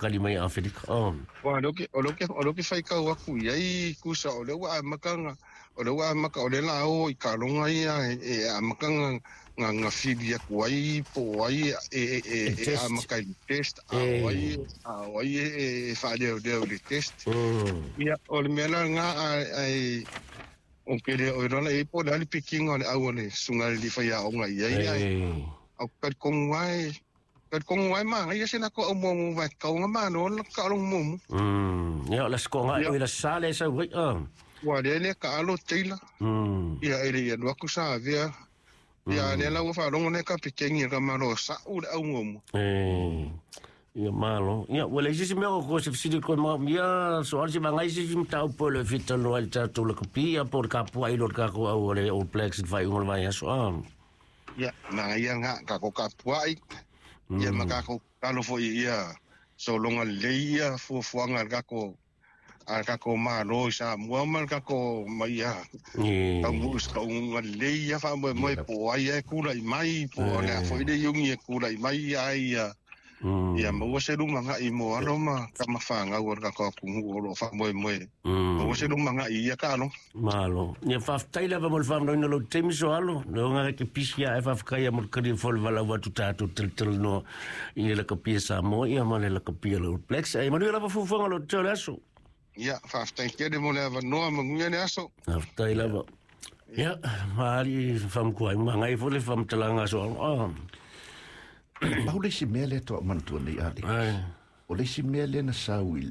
faakali mai Afelika. Ua o leo ke faikau aku i ai kusa o lea ua amaka o lea ua amaka o lea la o i kaloga ia e amaka ga fili aku ai po o ai e amaka i le test a o ai a o ai e faaleoleo i le test. Ia o le mea la lena ai o ke le o lona e po le ali pikinga o le au o le susuga i le faiaoga i ai ai au talitonu ai ma ia se la ko au mo va kaunga ma no la ka lo mo. Ia la skonga i la sale sa wi. Ua le le ka alo teila. Ia ele ia lu sa via. Ia le la ua faalogo le kapiteni ka malo sa'u le au muamua. Ia malo. Ia ua leai se isi mea o ko se fesili koe ma ia so ale se vagai se isi mataupu o le fitanoa i le tatou lakapi ia po o le kapua'i lo le takou au o le All Blacks i le faaiuga o le vaiaso a. Ia na ia nga ka ko kapua'i. Ia ma kako talo foi ia sologa lelei ia fuafuaga a le Malo i Samoa ma le tatou ma ia taunuu i se taunuuga lelei ia faamoemoe po o ai e kula'i mai po o le a foi le iugi e kula'i mai ai ia ia maua se lumaga'i mo alo ma tamafanau o le tatou atunuu o loo faamoemoe maua se lumaga'i ia taaloga. Malo. Ia faafetai lava mo le faamanoina lou taimi so alo. Le ke pisi ia e faafetai mo le kali fo le valau atu tatou talatalanoa i le lakapi a Samoa ia ma le lakapi a le All Blacks. Ai manuia lava fuafuaga lo te o le aso. Ia faafetai tele mo le avanoa, manuia le aso. Faafetai lava. Ia, maali whamkua, mangai fo le whamtalanga so alo. Ah. Pau le isi mea lea toa manatua nei ale. O le isi mea lea na sau i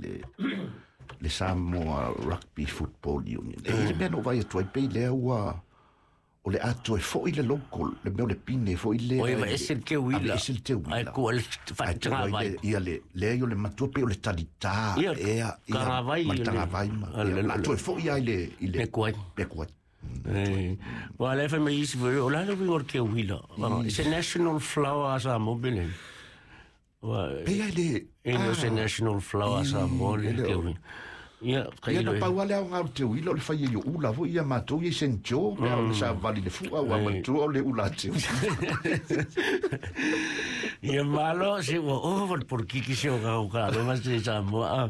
le Samoa Rugby Football Union. E le mea no vai atu ai pei lea ua o le atoe foi le local, le mea o le pine foi le. O ia ese le teuila. Ave ese le teuila. Ai ku le whaitanga vai. Ia le ia o le matua pe o le talitā. Ia, ea, ia, tagavai ma le le- tagavai ma. A Ia, la atoe foi ai le i le Pekuai. Pekuai. Wa le fa mai isi foi, o la le wingo ke wila. It's a national flower a Samoa bele. Wa Pei ai le e no se national flower a Samoa le ele ke o- wila. Ia, kai Ia na lo. pau ale au ngau te uila o le fai e ula foi ia matou ia i St. Joe pe au le sa vali le fua ua matua o le ula te Ia malo se ua o wa por kiki se o ka o ka lo mas se Samoa. Ah.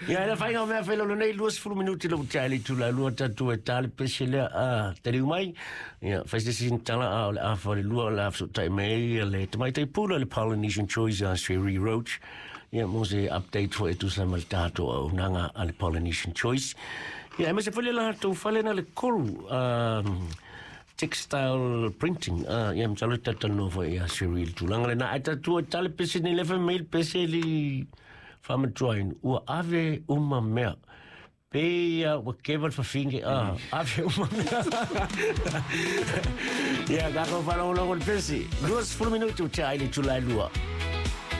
Ia ela fai ngau mea whailo nei 20 minuti lo tali tu la lua tatu e tali pese lea a tali mai. Ia fai se sin tala a o le a fa le lua la so tai mei le tamai tai pula le Polynesian Choice a Sherry Roach. Ia mo se update fo e tu sa mal tato au nanga a le Polynesian Choice. Ia e se fale la tu fale na le koru textile printing. Ah, ia mtalo tatalo fo ia Cyril tulanga le na ata tua tale pese ni lefa mail pese li famatuain ua ave uma mea. Pe ia ua keval fafinge ah ave uma mea. Ia kako whalongolongo le pese. 20 minutu te aile tulai lua.